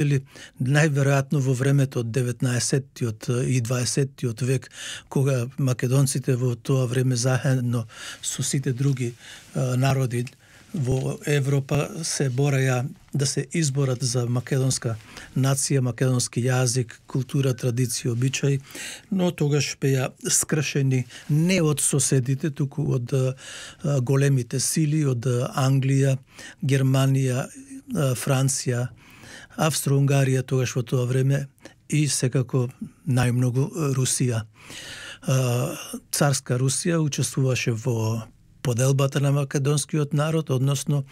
или најверојатно во времето од 19-тиот и 20-тиот век, кога македонците во тоа време заедно со сите други народи во Европа се бореја да се изборат за македонска нација, македонски јазик, култура, традиција, обичаи, но тогаш беа скршени не од соседите, туку од големите сили, од Англија, Германија, Франција, Австро-Унгарија тогаш во тоа време и секако најмногу Русија. Царска Русија учествуваше во поделбата на македонскиот народ, односно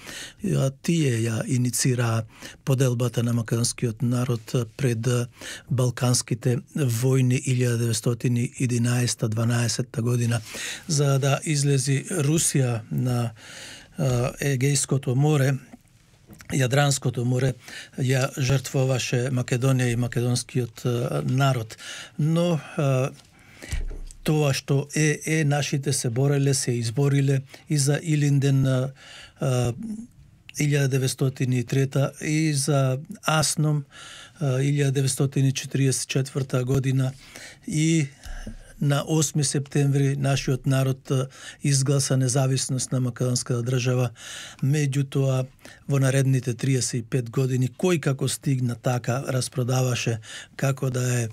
тие ја иницираа поделбата на македонскиот народ пред Балканските војни 1911-12 година, за да излези Русија на Егејското море. Јадранското море ја жртвуваше Македонија и македонскиот народ, но тоа што нашите се бореле, се избориле и за Илинден 1903 и за Асном 1944 година и на 8 септември нашиот народ изгласа независност на македонската држава. Меѓутоа, во наредните 35 години, кој како стигна така распродаваше, како да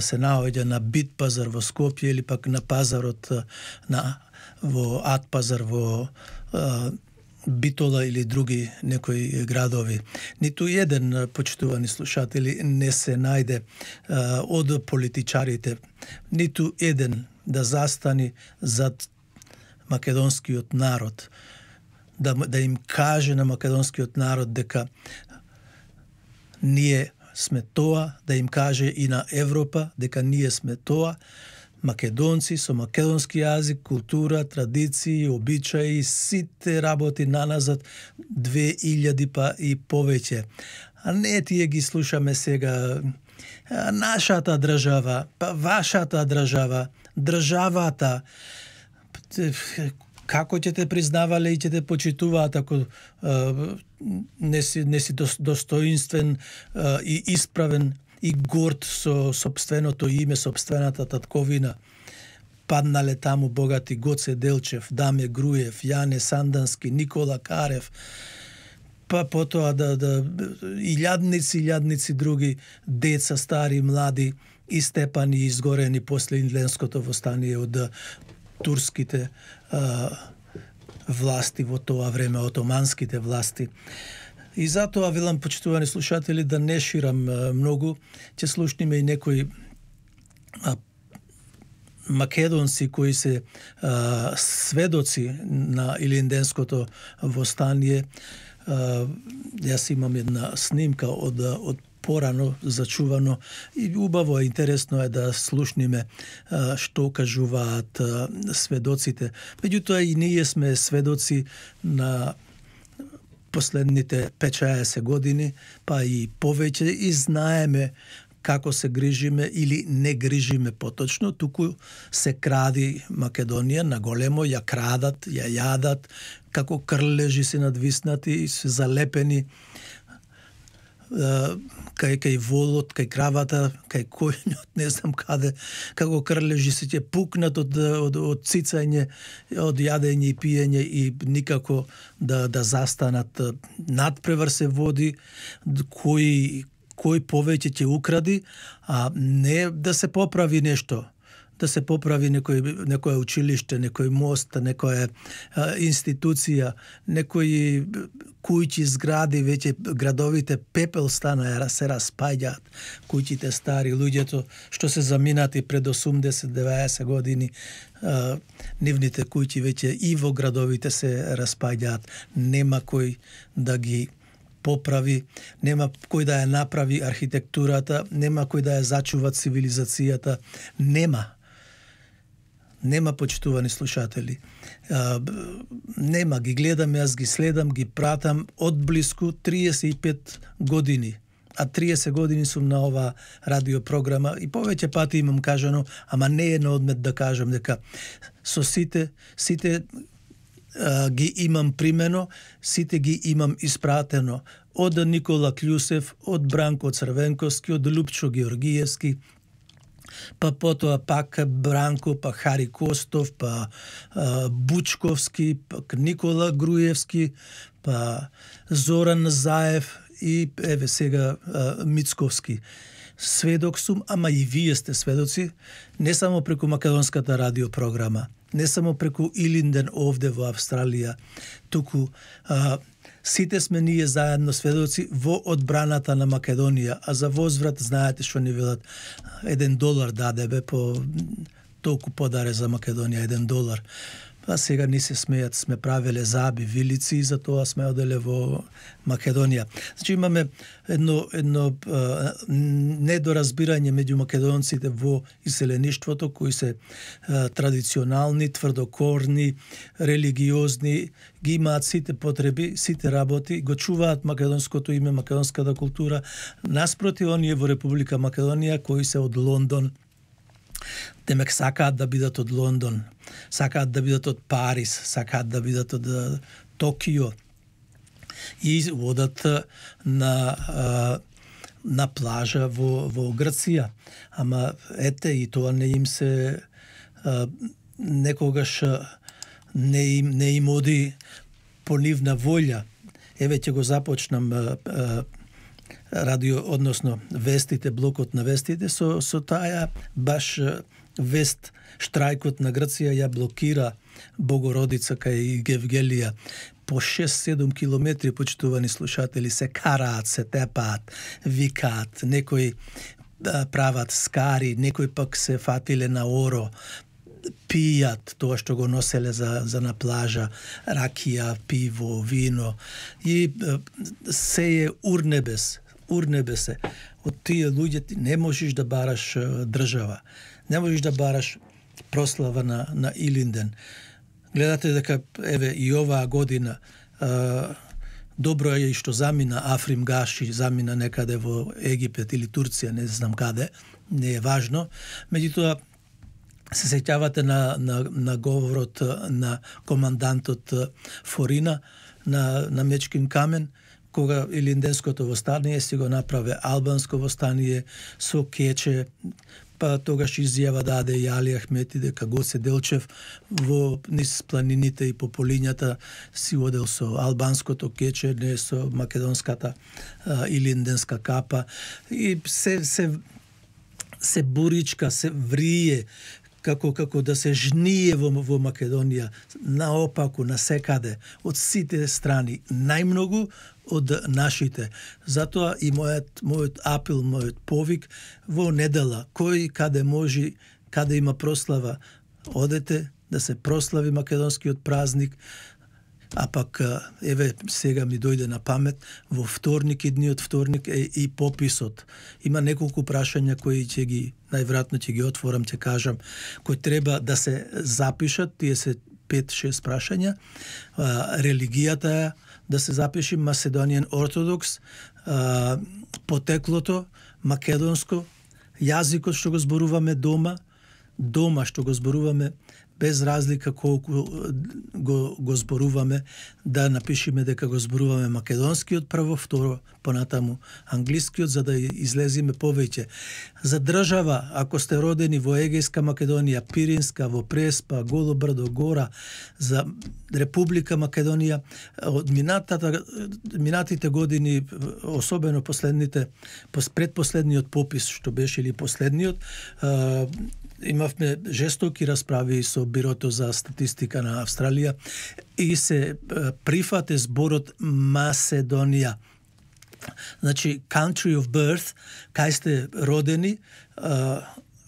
се наоѓа на Бит пазар во Скопје или пак на пазарот во Ат пазар во Битола или други некои градови. Ниту еден, почитувани слушатели, не се најде од политичарите, ниту еден да застани зад македонскиот народ, да им каже на македонскиот народ дека ние сме тоа, да им каже и на Европа дека ние сме тоа, македонци со македонски јазик, култура, традиции, обичаи, сите работи наназад 2000 па и повеќе. А не тие ги слушаме сега нашата држава, па вашата држава, државата. Како ќе те признавале и ќе те почитуваат ако не си достоинствен и исправен и горд со собственото име, собствената татковина. Паднале таму богати Гоце Делчев, Даме Груев, Јане Сандански, Никола Карев, па потоа илјадници други деца, стари, млади, истепани и изгорени после Индленското востание од турските власти во тоа време, отоманските власти. И затоа велам, почитувани слушатели, да не ширам многу, ќе слушниме и некои македонци кои се сведоци на Илинденското востание. Јас имам една снимка од порано зачувано и убаво и интересно е да слушниме што кажуваат сведоците. Меѓутоа и ние сме сведоци на последните 5-6 години, па и повеќе, и знаеме како се грижиме или не грижиме поточно, туку се кради Македонија на големо, ја крадат, ја јадат, како крлежи се надвиснати и се залепени кај волот, кај кравата, кај којнот, не знам каде, како крлежи се ќе пукнат од цицање, од јадење и пиење и никако да застанат. Надпревар се води, кој повеќе ќе укради, а не да се поправи нешто. Да се поправи некој училиште, некој мост, некоја институција, некои куќи, згради, веќе градовите пепел стана, се распаѓаат, куќите стари, луѓето што се заминати пред 80-90 години, нивните куќи веќе и во градовите се распаѓаат, нема кој да ги поправи, нема кој да ја направи архитектурата, нема кој да ја зачува цивилизацијата, нема, почитувани слушатели. Нема, ги гледам, јас ги следам, ги пратам од блиску 35 години. А 30 години сум на ова радиопрограма и повеќе пати имам кажано, ама не е на одмет да кажам дека со сите ги имам примено, сите ги имам испратено од Никола Клјусев, од Бранко Црвенковски, од Лупчо Георгиевски, па потоа пак Бранко, па Хари Костов, па Бучковски, пак Никола Груевски, па Зоран Заев и еве сега Мицковски. Сведок сум, ама и вие сте сведоци, не само преку македонската радиопрограма, не само преку Илинден овде во Австралија, туку сите сме ние заедно сведоци во одбраната на Македонија, а за возврат знаете што ни велат $1 дадебе по толку подаре за Македонија, $1. А сега ни се смејат, сме правеле заби, вилици и за тоа сме оделе во Македонија. Значи имаме едно недоразбирање меѓу македонците во иселеништвото, кои се традиционални, тврдокорни, религиозни, ги имаат сите потреби, сите работи, го чуваат македонското име, македонската култура, наспроти оние во Република Македонија кои се од Лондон. Демек сакаат да бидат од Лондон, сакаат да бидат од Париз, сакаат да бидат од Токио и одат на плажа во Грција. Ама ете и тоа не им се некогаш не им оди по нивна волја. Еве ќе го започнам радио, односно вестите, блокот на вестите, со таа баш вест, штрајкот на Грција ја блокира Богородица кај Гевгелија. По 6-7 километри, почитувани слушатели, се караат, се тепаат, викаат, некои прават скари, некои пак се фатиле на оро, пијат тоа што го носеле за на плажа, ракија, пиво, вино и се е урнебес се. Од тие луѓе ти не можеш да бараш држава. Не можеш да бараш прослава на Илинден. Гледате дека еве и оваа година добро е и што замина Африм Гаши, замина некаде во Египет или Турција, не знам каде, не е важно. Меѓутоа се сеќавате на говорот на командантот Форина на Мечкин камен, кога Илинденското востание си го направи албанско востание со кече, па тогаш изјава даде и Али Ахмети дека Гоце Делчев во низ планините и по полињата си одел со албанското кече, не со македонската илинденска капа и се буричка, се врие како да се жние во Македонија, наопаку, насекаде, од сите страни, најмногу од нашите. Затоа и мојот апел, мојот повик во недела, кој каде може, каде има прослава, одете да се прослави македонскиот празник, а пак еве сега ми дојде на памет, во вторник, идниот вторник е и пописот. Има неколку прашања кои ќе ги, најверојатно ќе ги отворам, ќе кажам, кои треба да се запишат, тие се 5-6 прашања. Религијата е да се запиши Macedonian Orthodox, потеклото македонско, јазикот што го зборуваме дома што го зборуваме без разлика колку го зборуваме, да напишеме дека го зборуваме македонскиот прво, второ, понатаму англискиот, за да излезиме повеќе. За држава, ако сте родени во Егејска Македонија, Пиринска, во Преспа, Голо брдо, Гора, за Република Македонија, од минатите години, особено предпоследниот попис, што беше или последниот, имавме жестоки расправи со Бирото за статистика на Австралија и се прифате зборот Macedonија. Значи, country of birth, кај сте родени,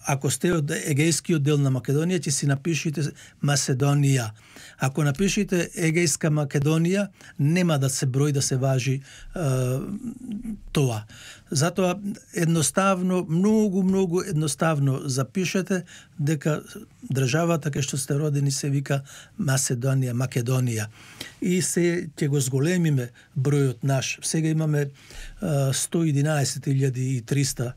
ако сте од егејскиот дел на Македонија, ќе си напишите Macedonија. Ако напишите Егејска Македонија, нема да се број, да се важи тоа. Затоа едноставно, многу едноставно запишете дека државата кај што сте родени се вика Macedonија, Македонија. И се ќе го зголемиме бројот наш. Сега имаме 111.300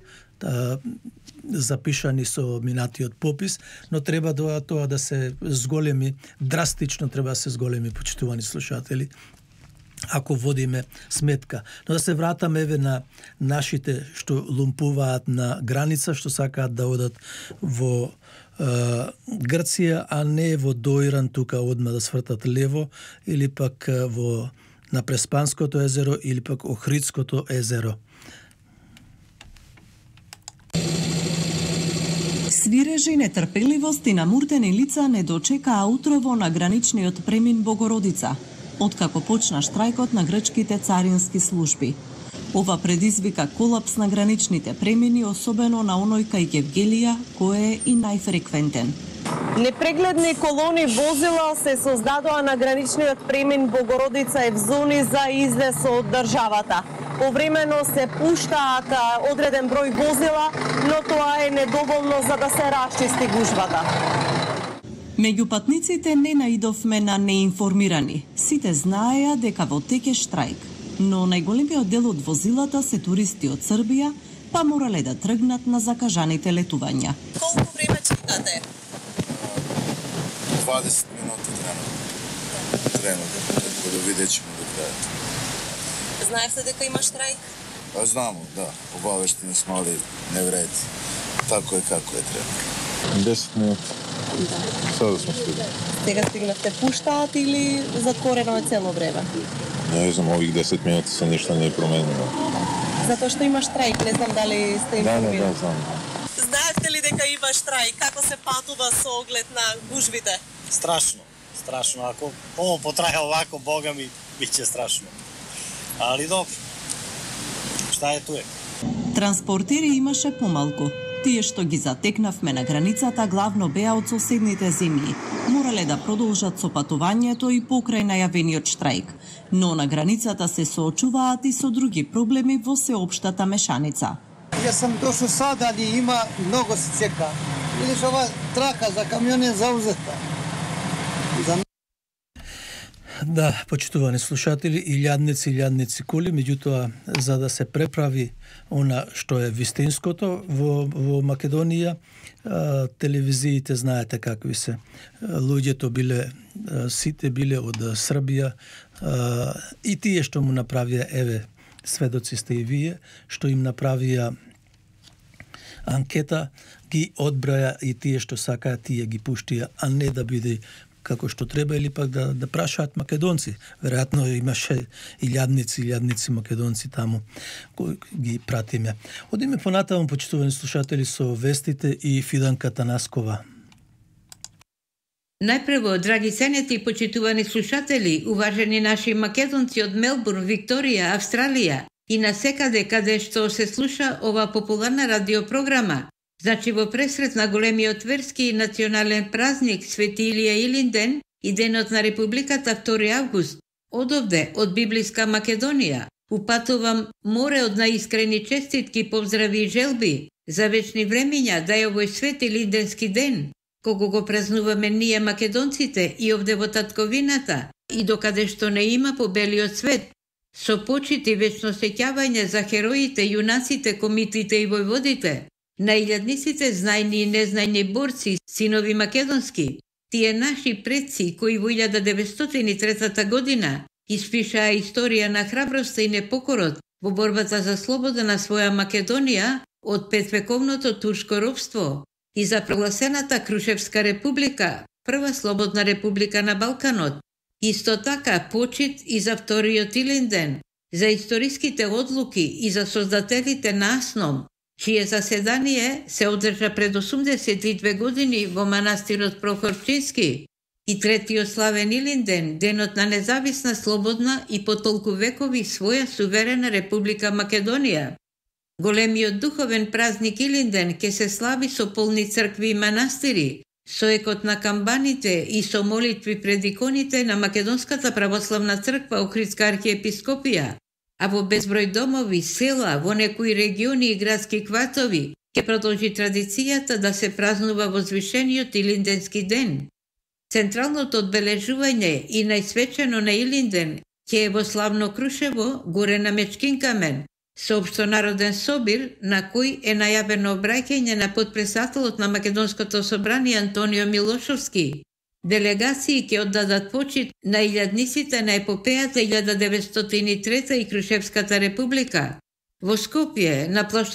запишани со минатиот попис, но треба тоа да се зголеми, драстично треба да се зголеми, почитувани слушатели, ако водиме сметка. Но да се вратаме на нашите што лумпуваат на граница, што сакаат да одат во Грција, а не во Доиран, тука одма да свртат лево, или пак на Преспанското езеро, или пак Охридското езеро. Свирежи, нетрпеливост и намуртени лица не дочекаа утрово на граничниот премин Богородица, откако почна штрајкот на грчките царински служби. Ова предизвика колапс на граничните премини, особено на оној кај Гевгелија, кој е и најфреквентен. Непрегледни колони возила се создадоа на граничниот премин Богородица Евзони за излез од државата. Повремено се пуштаат одреден број возила, но тоа е недоволно за да се расчисти гужвата. Меѓу патниците не наидовме на неинформирани. Сите знаеа дека во тек е штрајк, но најголемиот дел од возилата се туристи од Србија, па морале да тргнат на закажаните летувања. Колку време чекате? 20 минути трено да видечемо до крајот. Знаевте дека има штрајк? Знамо, да. Обавештени сме, али не вреди. Тако е како е треба. 10 минути. Сега сме стигнали. Сега стигнавте, пуштаат или затворено е цело време? Не знам, ових 10 минути се ништо не е променено. Затоа што има штрајк, не знам дали сте информирани. Да, знам. Знаевте ли дека има штрајк? Како се патува со оглед на гужвите? Страшно. Ако ово потрае овако, бога ми, биće страшно. Али добро. Шта е туе? Транспортери имаше помалку. Тие што ги затекнавме на границата главно беа од соседните земји. Морале да продолжат со патувањето и покрај најавениот штрајк. Но на границата се соочуваат и со други проблеми во сеопштата мешаница. Јас сам дошол сада, али има многу се чека. Видиш, ова трака за камион е заузета. Да, почитувани слушатели, илјадници коли, меѓутоа за да се преправи она што е вистинското во Македонија, телевизиите знаете какви се. Луѓето биле, сите биле од Србија, и тие што му направија, еве, сведоци сте и вие, што им направија анкета, ги одбраја и тие што сакаат, тие ги пуштија, а не да биде како што треба, или пак да прашаат македонци. Веројатно имаше илјадници македонци таму кои ги пратиме. Одиме понатаму, почитувани слушатели, со вестите и Фиданка Танаскова. Најпрво, драги ценети и почитувани слушатели, уважени наши македонци од Мелбурн, Викторија, Австралија и насекаде каде што се слуша ова популарна радиопрограма. Значи во пресрет на големиот верски и национален празник Свети Илија Илинден и денот на Републиката 2 август, одовде од библиска Македонија, упатувам море од наискрени честитки, поздрави и желби за вечни времиња да е овој Свети Илинденски ден, кога го празнуваме ние македонците и овде во татковината и докаде што не има по белиот свет, со почит и вечно сеќавање за хероите, јунаците, комитите и војводите, на илјадниците знајни и незнајни борци, синови македонски, тие наши предци кои во 1903 година испишаа историја на храброста и непокорот во борбата за слобода на своја Македонија од петвековното турско робство и за прогласената Крушевска република, прва слободна република на Балканот. Исто така почит и за вториот Илинден, за историските одлуки и за создателите на АСНОМ, чие заседание се одржа пред 82 години во манастирот Прохорчински, и третиот славен Илинден, денот на независна, слободна и по толку векови своја суверена Република Македонија. Големиот духовен празник Илинден ке се слави со полни цркви и манастири, со екот на камбаните и со молитви пред иконите на Македонската православна црква Охридска архиепископија, а во безброј домови, села, во некои региони и градски квартови ќе продолжи традицијата да се празнува возвишениот Илинденски ден. Централното одбележување и најсвечено на Илинден ќе е во славно Крушево, горе на Мечкин камен, Соопшто Народен собир, на кој е најавено обраќање на потпредседателот на Македонското собрание Антонио Милошовски. Делегации ќе оддадат почит на илјадниците на епопејата 1903 и Крушевската република. Во Скопје, на плошта